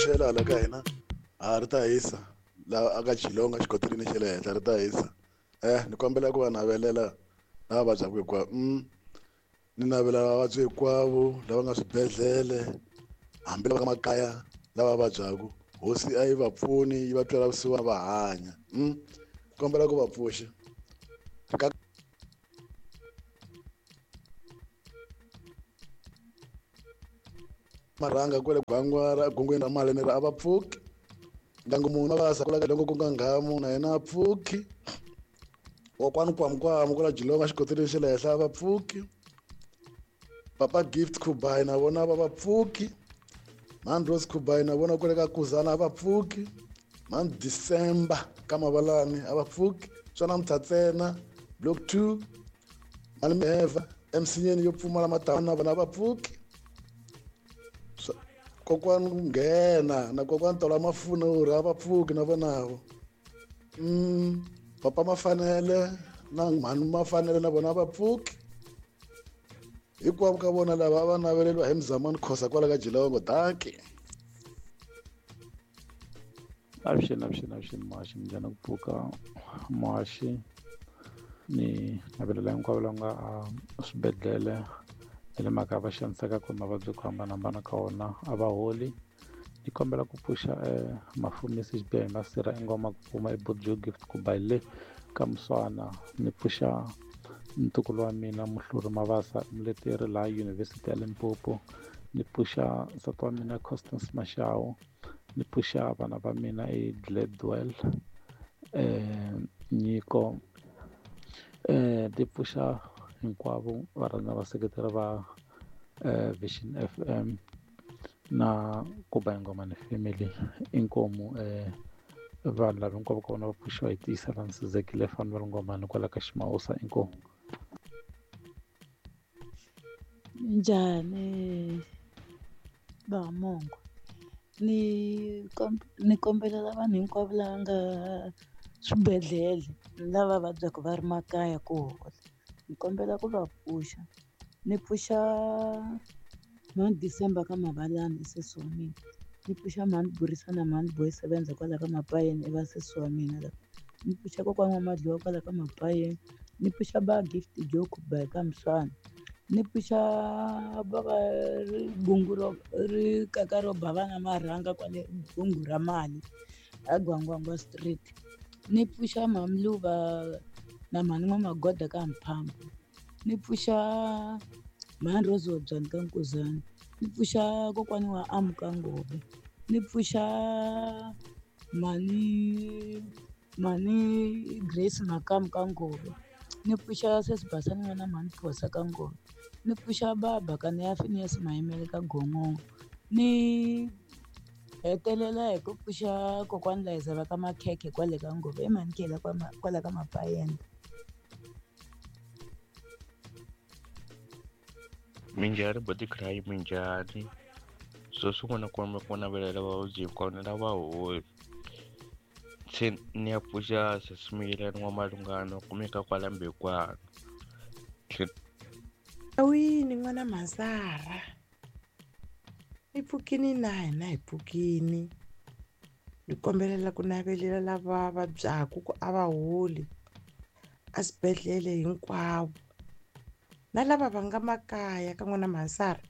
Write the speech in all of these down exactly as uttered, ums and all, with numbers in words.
pfuxela hala ka hina a ri ta hisa laha aka Geelong xikoteleni xa le henhla ri ta hisa eh ni kombela ku va navelela lava vabyaka hinkwavo mm ni navela vavabyi hinkwavo lava nga swibedhlele hambi lava nga makaya lava vabyaka hosi a yi va pfuni yi va twela vusiwana va hanya mm kombela ku va pfuxa ka marhanga kwale gwangwa gongweni ra mali ni ri a va pfuki ndyangu munhu va sa kula loko ku nga nghamu na yena a pfuki kokwani kwamukwamu kwala Geelong xikoteleni xa le henhla a va pfuki papa Gift Khubai na vona va va pfuki mhani Rose Khubai na vona kwale ka Kuzana a va pfuki mhani December ka Mavalani a va pfuki swa namuntlha ntsena block two mhani Miheva emisinyeni yo pfumala matama na vona a va pfuki kokwani nghena na kokwani Tola Mafuna uri a va pfuki na vonavo mm papa Mafanele na mhani Mafanele na vona a va pfuki hinkwavo ka vona lava a va naveleliwa hi Mzamani Khosa kwala ka Geelong dankie. Avuxeni avuxeni avuxeni muhaxi minjhani ku pfuka muhaxi ni navelela hinkwavo lava nga a swibedhlele na le makaya va xaniseka ku mavabyi ku hambanahambana ka wona a va holi ni kombela ku pfuxa mafumisi xibiha hi masirha ingoma ku pfuma eBojo Gift ku ba le ka Muswana ni pfuxa ntukulu wa mina Muhluri Mavasa muleteri laha University ya Limpopo ni pfuxa nsati wa mina Constance Mashao ni pfuxa vana va mina e Gladwell eh Nyiko eh ni pfuxa hinkwavo varhandza vaseketeri va eh, Vision F M na Kuba Ingomani family inkomu eh vanhu lava hinkwavo ka vona va pfuxiwa hi tiyisela Nsizekile Fanuel Ngomani kwala ka Ximawusa inkomu. Njhani va Mongo ni ni kombelela vanhu hinkwavo lava nga swibedhlele lava vabyaka va ri makaya ku hola ni kombela ku va pfuxa ni pfuxa mhani December ka Mavalani sesi wa mina ni pfuxa mhani Burisana mhani Boy sevenza kwala ka Mapayeni i va sesi wa mina lava ni pfuxa kokwani wa Madliwa kwala ka Mapayeni ni pfuxa ba Gift Joe Khubai ka Muswana ni pfuxa bava gungu ro ri kaka ro ba vana marhanga kwale gungu ra mali a Gwangwangwa Street ni pfuxa Mhani na mhani N'wamagoda ka Mphambo ni pfuxa mhani Rose Wabyani ka Nkuzana ni pfuxa kokwani wa Amuka Ngove ni pfuxa mhani mhani Grace Makamu ka Ngove ni pfuxa sesi Basani n'wana mhani Phosa ka Ngove ni pfuxa baba ka ya Phineas Mayimele ka Gongongo ni hetelela hi ku pfuxa kokwani Layiza va ka Makhekhe kwale ka Ngove i mhani Khela kwala ka Mapayenda. Minjhani body cry minjhani so swin'wana kumbe ku navelela vavabyi hinkwavo lava holi se ni ya pfuxa Sesimile N'wamalungano kumeka kwala Mbekwana. Awini n'wana Mazara ni pfukini na hina hi pfukini ni kombelela ku navelela lava vabyaka ku a va holi a swibedhlele hinkwavo na lava va nga makaya ka n'wana Mazara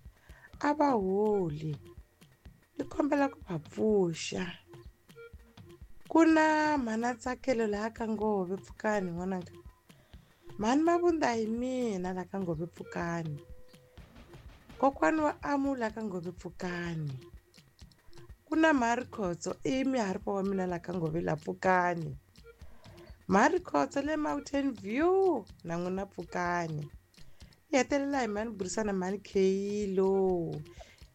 a va holi ni kombela ku va pfuxa ku na mhana Tsakelo laha ka Ngove pfukani n'wananga mhani Mabunda hi mina laha ka Ngove pfukani kokwani wa Amu laha ka Ngove pfukani ku na Mhari Khotso i miharipa wa mina laha ka Ngove la pfukani Mhari Khotso le Mountain View na n'wina pfukani ni hetelela hi mhani Burisana mhani Kheyilo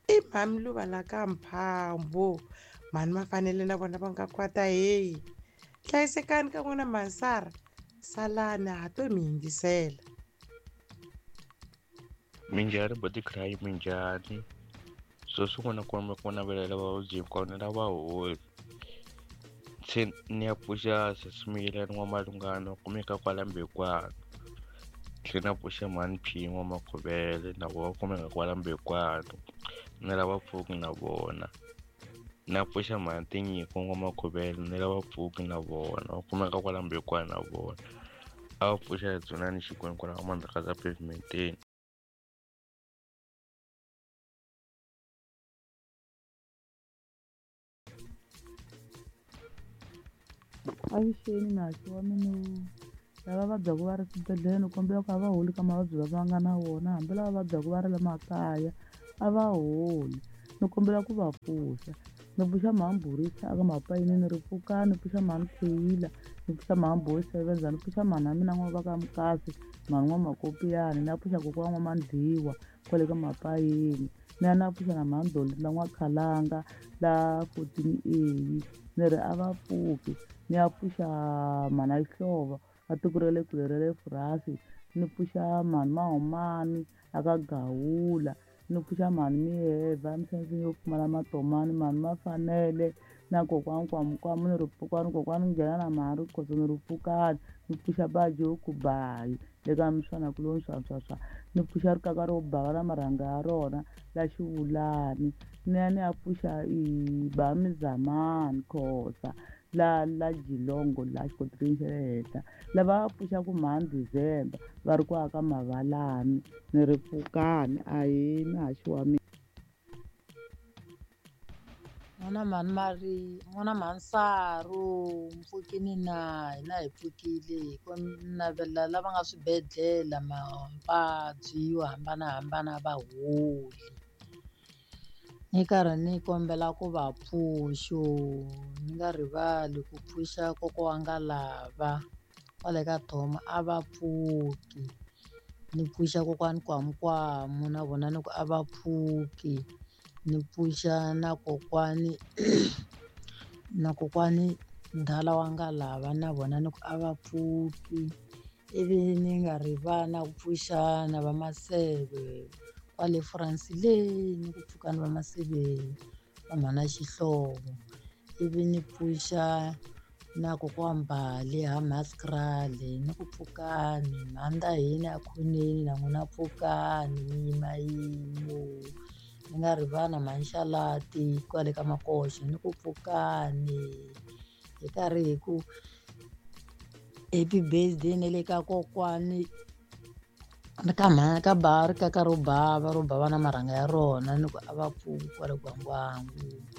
i mhani Luva la ka Mphambo mhani Mafanele na vona va nga kwata heyi hlayisekani ka n'wina Masara salani ha to mi yingisela. Minjhani body cry minjhani so swin'wana kumbe ku navelela vavabyi hinkwavo lava holi se ni ya pfuxa Sesimile N'wamalungano kumeka kwala Mbekwana tlhela na pfuxa mhani P N'wamakhovele na vona kumeka kwala Mbekwana ni lava pfuki na vona. Na pfuxa mhani Tinyiko N'wamakhuvele ni lava pfuki na vona va kumeka kwala Mbekwana na vona. A va pfuxa Dzunani Xikwembu kwala Mandlakazi pavementeni. Avuxeni muhaxi wa mina lava vabyaka va ri swibedhlele ni kombela ku a va holi ka mavabyi lama va nga na wona hambi lava vabyaka va ri le makaya a va holi ni kombela ku va pfuxa ni pfuxa mhani Borisa a ka Mapayinini ni ri pfukani ni pfuxa mhani Kheyila ni pfuxa mhani Boysevenza ni pfuxa mhani wa mina n'wa va ka Mukasi mhani N'wamakopiyani ni ya pfuxa kokwana N'wa-Mandliwa kwale ka Mapayini ni ya ni ya pfuxa na mhani Dolinda N'wa-Khalanga la fourteen A ni ri a va pfuki ni ya pfuxa mhani Xihlovo a tiko ra le kule ra le Furasi ni pfuxa mhani Mahumani a ka Gawula ni pfuxa mhani Miyeva emisaveni yo pfumala matomani mhani Mafanele na kokwani Kwamukwamu ni ri pfukani kokwani nghena na mhani Rikhotso ni ri pfukani ni pfuxa Bajoku Bayi le ka Mswana kuloni swa swa swa ni pfuxa rikaka ro bava na marhanga ya rona la Xivulani ni ya ni ya pfuxa i ba Mizamani Khosa la la Jilongo la xikoteleni xa le henhla lava va pfuxaku mhani December va ri ku aka Mavalani ni ri pfukani ahee muhaxi wa mina. N'wana mhani Mari n'wana mhani Saru mpfukini na hina hi pfukile hi ku navela lava nga swibedhlele mavabyi yo hambanahambana va holi ni karhi ni kombela ku va pfuxo ni nga rivali ku pfuxa kokwa wa nga lava kwale ka Thoma a va pfuki ni pfuxa kokwani Kwamukwamu na vona ni ku a va pfuki ni pfuxa na kokwani na kokwani Ndhala wa nga lava na vona ni ku a va pfuki ivi ni nga rivali na ku pfuxa na va Maseve kwale France le ni ku pfukani va Maseve va mhana Xihlovo ivi ni pfuxa na kokwa Mbali ha Maskrali ni ku pfukani mhani hina a khoneni na n'wina pfukani mi yima yimo ni nga rivali na mhani Xalati kwale ka Makoxa ni ku pfukani hi karhi hi ku happy birthday na le ka kokwani ri ka mhani ka ba rikaka ro bava ro bava na marhanga ya rona ni ku a va pfuki kwale Gwangwangu.